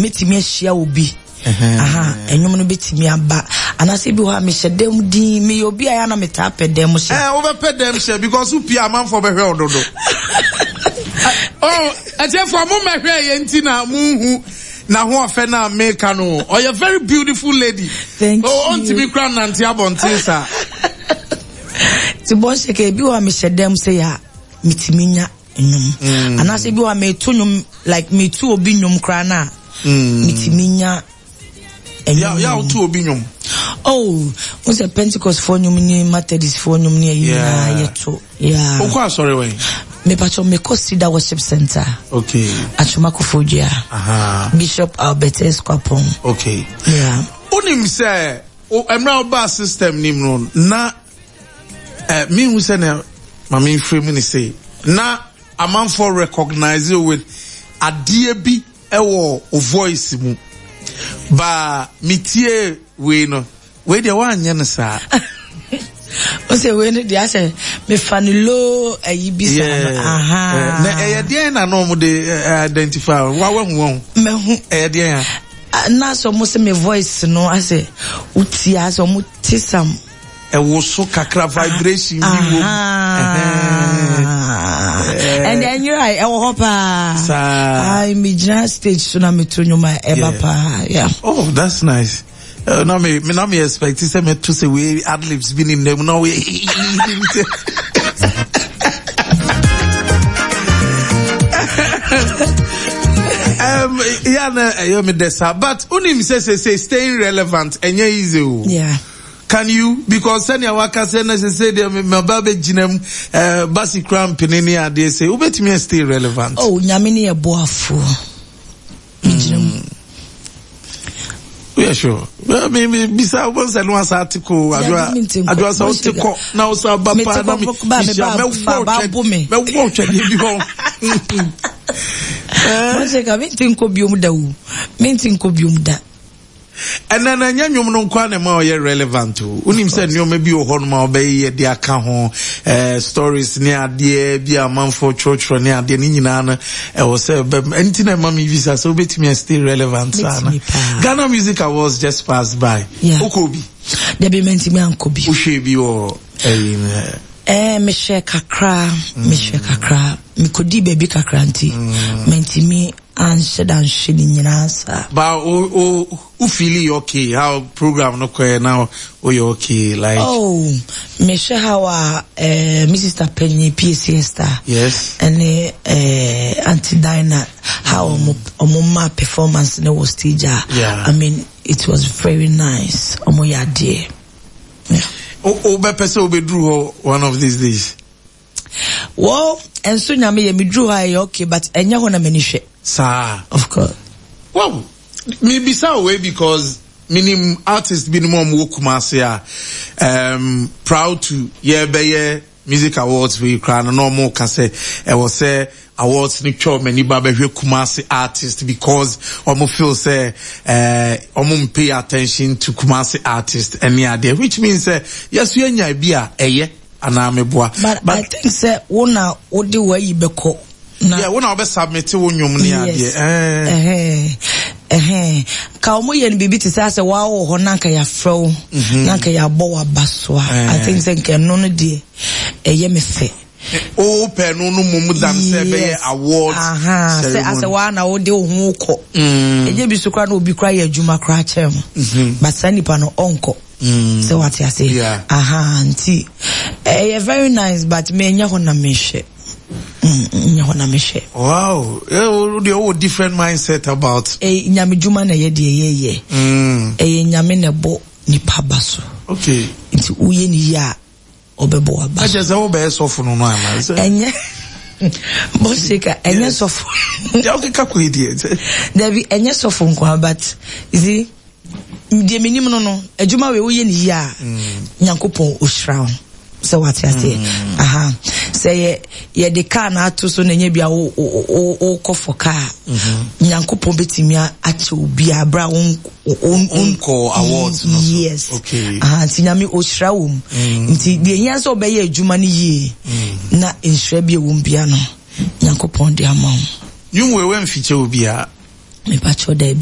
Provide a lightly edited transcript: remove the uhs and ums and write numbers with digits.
Mɛtumi ahyia obi. Aha, ɛnwom no bɛtumi aba. Anaasɛ bi hɔ a mehyɛ dɛm din, meyɛ obi a yɛ na metaa pɛ dɛm hyɛ. Ɛɛ, wobɛpɛ dɛm hyɛ because wopie amanfoɔ bɛhwɛ wo dodo. Oh, ɛtiɛfoɔ mo mɛhwɛ yɛ nti na monhu n'ahoɔfɛ no a meka no. Ɔyɛ very beautiful lady. Thank oh, you. Ɔntumi kora nante abɔnten saa. Ti bɔ hyɛ ka ebi hɔ a mehyɛ dɛm sɛ yɛ a metumi nya nnwom. Mm. Anaasɛ ebi hɔ a meto nnwom like metu obi nnwom koraa no a mm. metumi nya nnwom. Ya wotu obi nnwom. Oh, wo sɛ Pentecost foɔ nnwom ne Methodist foɔ nnwom ne ayi nyinaa yɛto. Yeah. Wokɔ asɔre wɛn? Mepatwɔ mekɔ Cedar Worship Center. Okay. Atwoma Koforidua. Aha. Bishop Albert S. Kwapong. Okay. Yeah. Wonim sɛ mmerɛ a wobaa system nim no na eh, mehu sɛ na ma memfiri mu ne sei na amanfoɔ recognize you with adeɛ bi ɛwɔ o voice mu ba metie wei no wei deɛ woanyɛ no saa. O sɛ wei no deɛ asɛ mefa no low ayi bi saa no aha. Na ɛyɛ deɛn na na wɔn de identify wa wahu wɔn. Mahu. Ɛyɛ deɛn a. Na asɛ wɔn sɛ me voice no asɛ wotie asɛ wɔn te sam. Ɛwɔ so kakra vibration bi wɔ mu. Ɛnna ɛnyera ɛwɔ hɔ paa. Saa. Ayi mi gyina stage so na mi to nnwom a ɛba paa. Yeah. Oh, that's nice. Na me me na me expect sɛ me to sɛ wei adlibs bi ne nam na wei. Yeah, na ɛyɛ me dɛ saa but unim sɛ sɛ sɛ staying relevant ɛnyɛ easy o. Yeah. Can you because sɛnea waka sɛ na sɛ sɛ deɛ maba bɛgyina mu eh, basi kura mpene ne adeɛ sɛ wobɛtumi a stay relevant. Oh, nyame ne yɛ boafoɔ. Megyina mu. Woyɛ sure? Me me bisa wo sɛ no asa ate ko adwoa adwoa sɛ wote kɔ na wo sa ba pa na me hyia mɛwɔ twɛ mɛwɔ twɛdeɛ bi hɔ. Mɔhyɛ ka mente nkɔ biom da o mente nkɔ biom da. Ɛnɛ no ɛnyɛ nnwom no nkoa na ɛma ɔyɛ relevant o. Wonim sɛ nneɛma bi wɔ hɔnom a ɔbɛyɛ de aka ho, eh, stories ne adeɛ bi a amanfoɔ twerɛtwerɛ ne adeɛ ne nyinaa no ɛwɔ sɛ ɛbɛm. Ɛnti na ɛma me bisa sɛ wobɛtumi a stay relevant saa no. Ghana Music Awards just passed by. Yeah. Wokɔ bi? Dabi mantumi ankɔ bi. Wohwɛ bi wɔ ɛyi no? Eh, mehwɛ kakra, mehwɛ kakra. Mekɔdii baabi kakra nti, mantumi anhyɛ da nhwɛ ne nyinaa saa. Ba o o o feeli okay how program no kɔɛ na o yɛ okay like. Oh mehwɛ how a eh, me sister panyin PAC Esther. Yes. Ɛne eh, Auntie Dinah how ɔmo ɔmo ma performance ne wɔ stage a. Yeah. I mean it was very nice ɔmo yɛ adeɛ. Yeah. O o bɛpɛ sɛ wobɛduru hɔ one of these days. Well, ɛnso nyame yɛ meduru hɔ a ɛyɛ okay but ɛnyɛ hɔ na m'ani hwɛ. Saa. Of course. Wow, mebisa wo wei because menim artist binom a wɔwɔ Kumasi a um, proud to yɛbɛyɛ music awards wei koraa no na wɔn ka sɛ ɛwɔ sɛ awards no twa wɔn ani ba bɛhwɛ Kumasi artist because wɔn feel sɛ ɛɛ wɔn pay attention to Kumasi artist ɛne adeɛ which means sɛ yɛso yɛnya bi a ɛyɛ. Anaa meboa. But, but I think sɛ wo na wode w'ayi bɛkɔ. Na yeah, wo na wobɛ submit wo nnwom ne adeɛ. Yes. Eh. Ɛhɛn. Ka wɔn yɛ no biribi te sɛ asɛ waa wɔ hɔ na nka yɛafrɛ wo. Mhm. Na nka yɛabɔ w'aba so a. I think sɛ nka ɛno no deɛ ɛyɛ me fɛ. O pɛ no no mum dan sɛ ɛbɛyɛ award ceremony. Sɛ asɛ waa na wode wo ho kɔ. Ɛnyɛ bi so koraa na obi koraa yɛ adwuma koraa kyɛn mo. Mhm. But saa nipa no ɔnkɔ. Mm. Sɛ wate ase. Yeah. Aha, nti ɛyɛ very nice but me nyɛ hɔ na mehwɛ. Mm, nyɛ hɔ na mehwɛ. Wow. Eh, wo deɛ wowɔ different mindset about. Eh, nyame dwuma na ɛyɛ deɛ yɛyɛ. Mm. Ɛyɛ nyame na ɛbɔ nipa ba so. Okay. Nti woyɛ ne yie a ɔbɛbɔ waba so. Ɛkyɛ sɛ wobɛyɛ sɔfo no no ana? Ɛnyɛ bɔsika ɛnyɛ sɔfo. Deɛ wokeka kɔ yi deɛ. Dabi ɛnyɛ sɔfo nkoa but you see deɛ menim no no adwuma wei woyɛ ne yie a mm. Nyankopɔn ɔhyira wo sɛ wate aseɛ mm. aha sɛ yɛ yɛde kaa na ato so na ɛnyɛ bia wokɔ fɔ kaa mm-hmm. Nyankopɔn bɛtumi akyɛ obi a berɛ a wonkɔ awards no so yes okay. Aha nti Nyame ɔhyira wɔ mu mm. nti deɛ hia sɛ wobɛyɛ adwuma no yie mm. na nhyira bi ɛwɔ mu bia no Nyankopɔn de ama wo. Nwom wei wamfikyɛ obiara. Mepakyɛw daabi.